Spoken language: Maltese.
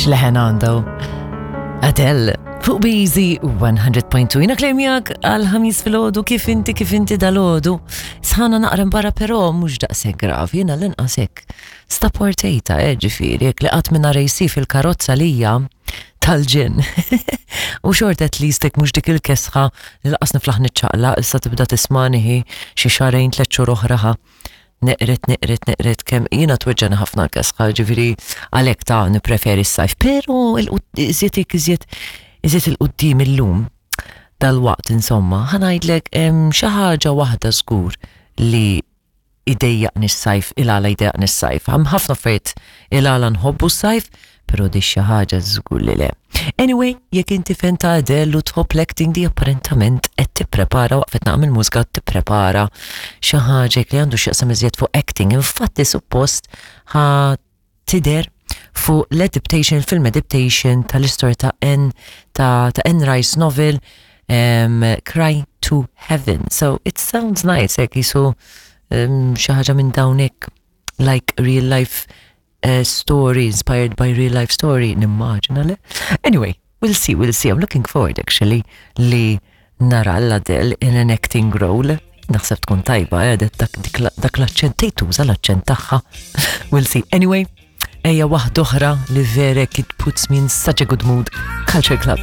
X'leħen għandu? Adele, fuq Bizi 100.2. Jina klejmjak għal-ħamis fil-ħodu kif inti kif inti dal-ħodu. Sħana naqra barra però mhux daqshekk gravi, jiena l-inqas hekk. Staportejta, eh, ġifieri, jekk li qatt minn rejsi fil-karozza lija tal-ġen. U xort at least hekk mhux dik il-kesħa li laqas niflaħ niċċaqla, issa tibda tismaniħi xi xarejn tliet xhur oħra ħa. Neqret, neqret, neqret kemm jiena tweġġana ħafna l-kesħa, ġifieri għalhekk ta' nippreferi s-sajf, però iżjed iżjed iżjed il-qudiem illum dal-waqt insomma, ħanajdlek xi ħaġa waħda żgur li idejjaqni s-sajf, il-għala jdejjaqni s-sajf. Hemm ħafna affarijiet il-għala nħobbu s-sajf, però di xi ħaġa żgur li le. Anyway, jekk inti fan ta' Adele u tħobb l-acting di apparentament qed tipprepara waqfet naqam il-mużika tipprepara xi ħaġa li għandu x'jaqsam iżjed fuq acting. Infatti suppost ħa tidher fuq l-adaptation, film adaptation tal-istorja ta' Anne ta', ta Anne Rice novel Cry to Heaven. So it sounds nice, hekk jisu xi ħaġa minn dawnek like real life story inspired by real life story, nimmaġina le. Anyway, we'll see, we'll see. I'm looking forward actually li nara l-Adele in an acting role. Naħseb tkun tajba, eh, dak, dak l-aċċent, tejtuża l-aċċent tagħha. We'll see. Anyway, ejja waħda oħra li verek it puts me in such a good mood. Culture Club.